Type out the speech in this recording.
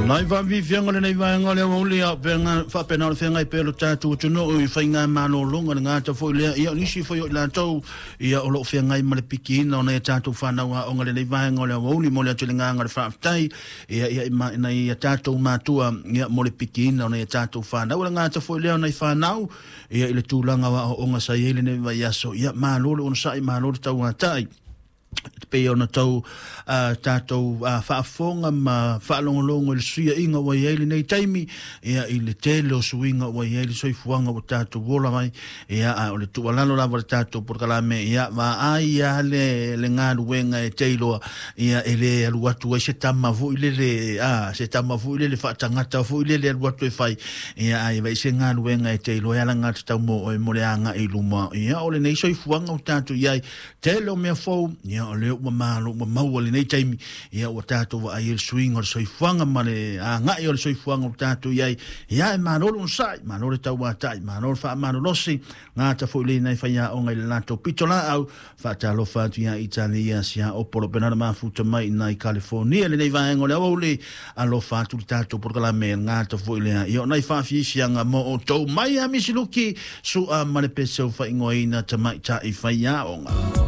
Nai faafiafiaga o lenei vaega o le aoauli a o faapena o le feagai pea lo tatou atunuu i faigamalologa le gata foi lea, ia o nisi foi o i latou ia o loo feagai ma le pikiina o nai a tatou fanau aoga lenei vaega o le aoauli. Mo le atu le agaga o le faafetai ia ia i nai a tatou matua ia mo le pikiina o nai a tatou fanau, le gata foi lea o nai fanau ia i le tulaga o aoaoga sa i ai lenei vaiaso. Ia malo le onosai, malo le tauatai pei ona tau tatou faafofoga ma faalogologo i le suiaiga ua i ai lenei taimi, ia i le tele o suiga ua i ai le soifuaga ua tatou ola ai. Ia a o le tuualalo lava le tatou polokalame, ia vaai ia le galuega e te iloa ia e le alu atu ai se tama foi lele, se tama foi lele faatagata foi lele alu atu e fai, ia ai vai se galuega e te iloa e alagatatau mo oe mo le agai i luma. Ia o lenei soifuaga ua tatou i ai, tele o mea fou, ia o lea ua malo ua maua lenei taimi, ia ua tatou vaai ai le suiga o le soifuaga ma le agai o le soifuaga ua tatou i ai. Ia e malo le onosai, malo le tauatai, malo le faamalolosi gata foi le nai faiaoga i le latou pitolaau. Faatalofa atu ia Italia sia Opolo pena mafuta mai nai California lenei vaega o le aoauli. Alofa atu le tatou polokalame gata foi lea, ia o nai faafiafiaga mo outou mai a Misiluki sua ma le peseu faaigoaina Tamaitai Faiaoga.